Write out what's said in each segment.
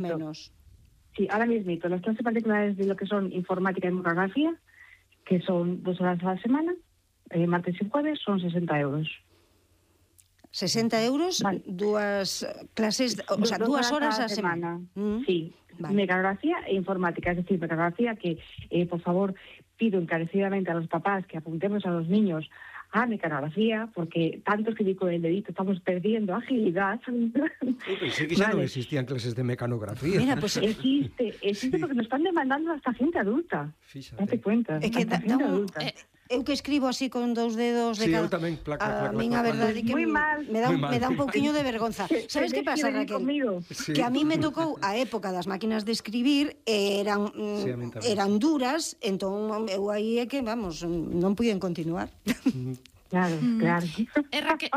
menos. Sí, ahora mismo, las clases particulares de lo que son informática y mecanografía, que son 2 horas a la semana, martes y jueves, son 60 euros. 60 euros, vale. 2 clases, o sea, 2 horas a semana. Sí, vale. Mecanografía e informática, es decir, mecanografía que, por favor, pido encarecidamente a los papás que apuntemos a los niños a mecanografía, porque tanto que digo el dedito, estamos perdiendo agilidad. Pensé que ya no existían clases de mecanografía. Mira, pues existe sí. Porque nos están demandando hasta gente adulta. Fíjate. Date cuenta. É que eu que escribo así con 2 dedos de cada... Sí, eu tamén, placa. A min a verdade é que me dá un pouquiño de vergonza. Sabes que pasa, Raquel? Sí. Que a mí me tocou a época das máquinas de escribir, eran duras, entón eu aí é que, vamos, non puiden continuar. Claro.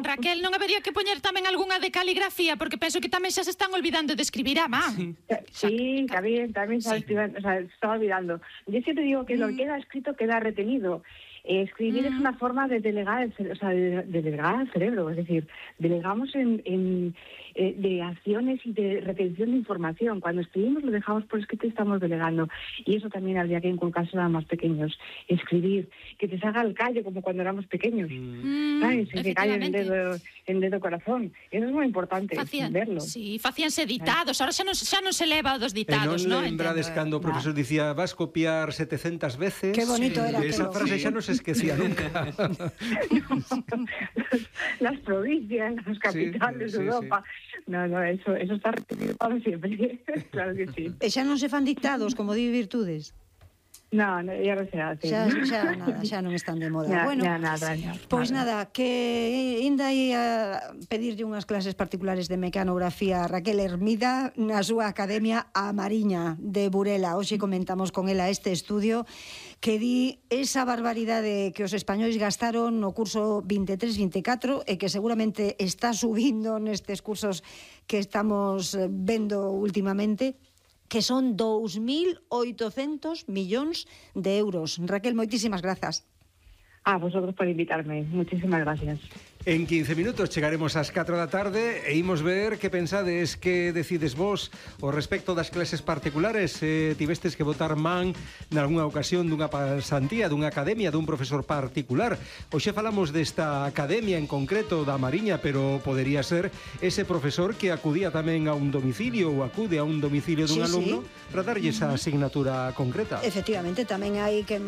Raquel, non habería que poñer tamén algunha de caligrafía, porque penso que tamén xa se están olvidando de escribir a man. Sí, tamén se está olvidando. Yo siempre digo que lo que queda escrito queda retenido. Escribir es una forma de delegar al cerebro, es decir, delegamos de acciones y de retención de información. Cuando escribimos lo dejamos por escrito y estamos delegando. Y eso también habría que inculcarse a los más pequeños. Escribir, que te salga el callo como cuando éramos pequeños. ¿Sabes? Que callo en dedo corazón. Eso es muy importante, verlo. Sí, facíanse ditados. Ahora xa non se leva dos ditados, non lembrades cando o profesor dicía vas copiar 700 veces? Qué bonito era esa frase xa non se esquecía nunca. Las provincias, los capitales de Europa. No, eso está retenido para siempre. Claro que sí. E xa non se fan dictados, como di Virtudes? No, ya no se hace. Xa non están de moda. Pois nada, que ainda ia pedirlle unhas clases particulares de mecanografía a Raquel Hermida na súa academia A Mariña de Burela. Hoxe comentamos con ela este estudio que di esa barbaridade que os españois gastaron no curso 23-24 e que seguramente está subindo nestes cursos que estamos vendo últimamente, que son 2.800 millóns de euros. Raquel, moitísimas grazas. A vosotros por invitarme. Muchísimas gracias. En 15 minutos chegaremos ás 4 da tarde e imos ver que pensades, que decides vos ao respecto das clases particulares. Tivestes que votar man nalgúna ocasión dunha pasantía, dunha academia, dun profesor particular. Hoxe falamos desta academia en concreto da Mariña, pero podería ser ese profesor que acudía tamén a un domicilio ou acude a un domicilio dun alumno para darlle esa asignatura concreta. Efectivamente, tamén hai quen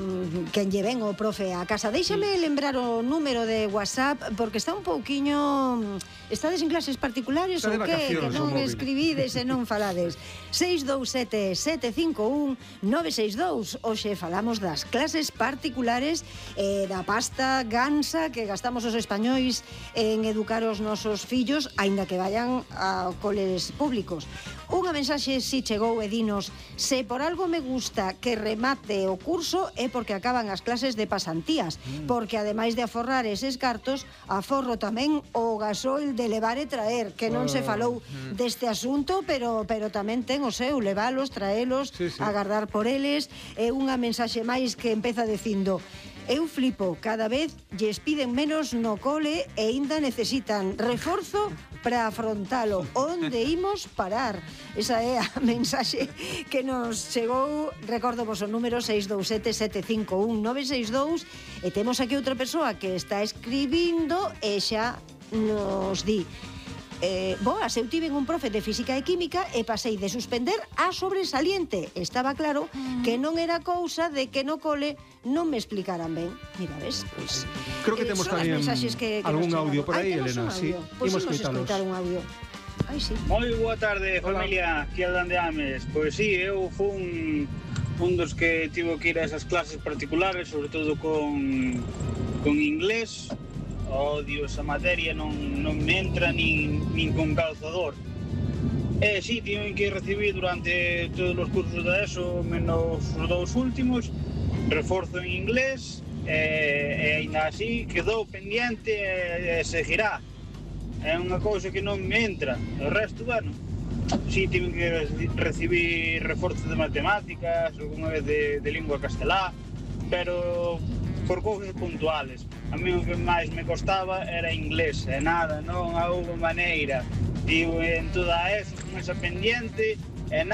lle ven o profe a casa. Déixame lembrar o número de WhatsApp, porque está un pouquiño... Estades en clases particulares ou que? Que non escribides e non falades. 627-751-962. Hoxe falamos das clases particulares da pasta gansa que gastamos os españois en educar os nosos fillos, aínda que vayan a coles públicos. Unha mensaxe si chegou e dinos: se por algo me gusta que remate o curso é porque acaban as clases de pasantías, porque ademais de aforrar eses cartos, aforro tamén o gasol de levar e traer, que non se falou deste asunto, pero tamén ten o seu, levalos, traelos, agardar por eles. É unha mensaxe máis que empeza dicindo: eu flipo, cada vez lles piden menos no cole e ainda necesitan reforzo para afrontalo. Onde imos parar? Esa é a mensaxe que nos chegou. Recordo vos o número 627-751-962 e temos aquí outra persoa que está escribindo e xa nos di: boas, eu tiven un profe de física e química e pasei de suspender a sobresaliente. Estaba claro que non era cousa de que no cole non me explicaran ben. Mira, ves? Pois, creo que temos tamén algún audio por aí, Elena. Sí, imos escoitar un audio. Ai, sí. Moi boa tarde, familia, aquí Aldán de Ames. Pois sí, eu fui un dos que tivo que ir a esas clases particulares, sobre todo con inglés. Odio esa materia, non me entra nin con calzador. Sí, tiven que recibir durante todos os cursos da ESO, menos os 2 últimos, reforzo en inglés, e ainda así quedou pendiente e seguirá. É unha cousa que non me entra. O resto, bueno, sí, tiven que recibir reforzo de matemáticas, alguna vez de lingua castelá, pero por cousas puntuales. A mí o que máis me costaba era inglés, e nada, non houve maneira. Digo, en toda eso, con esa pendiente,